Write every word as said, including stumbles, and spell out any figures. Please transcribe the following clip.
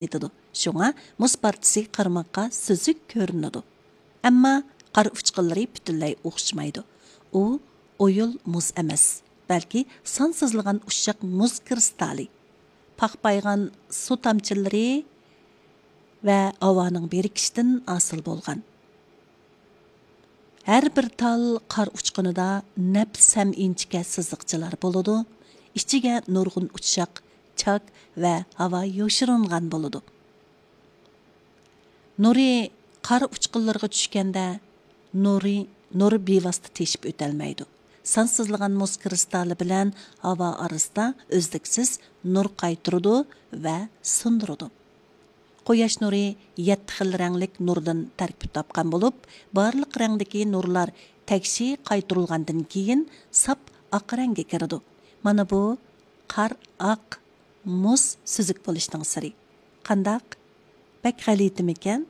يېتىدۇ. شۇڭا مۇز پارچىسى قارىماققا سۈزۈك كۆرۈنىدۇ. ئەمما قار ئۇچقۇنلىرى پۈتۈنلەي ئوخشىمايدۇ. ئۇ ئويۇل مۇز ئەمەس، بەلكى سانسىزلىغان ئۇششاق مۇز كىرىستالى، پاخپايغان سۇ تامچىلىرى ۋە ھاۋانىڭ بىرىكىشىدىن ھاسىل بولغان. ھەر بىر تال قار ئۇچقۇنىدا نەپىس ھەم ئىنچىكە سىزىقچىلار بولىدۇ. ئىچىگە نۇرغۇن ئۇششاق، چاك ۋە ھاۋا يوشۇرۇنغان بولىدۇ. نۇرى قار ئۇچقۇنلىرىغا چۈشكەندە، نۇرى، نۇر بىۋاسىتە تېشىپ ئۆتەلمەيدۇ. سانسىزلىغان مۇز كىرىستالى بىلەن ھاۋا ئارىسىدا ئۈزلۈكسىز نۇر قايتۇرىدۇ ۋە سۇندۇرىدۇ. قۇياش نۇرى يەتتە خىل رەڭلىك نۇردىن تەركىب تاپقان بولۇپ، بارلىق رەڭدىكى نۇرلار تەكشى قايتۇرۇلغاندىن كېيىن ساپ ئاق رەڭگە كىرىدۇ. مانا بۇ قار ئاق، مۇز سۈزۈك بولۇشنىڭ سىرى. قانداق؟ بەك غەلىتىمىكەن؟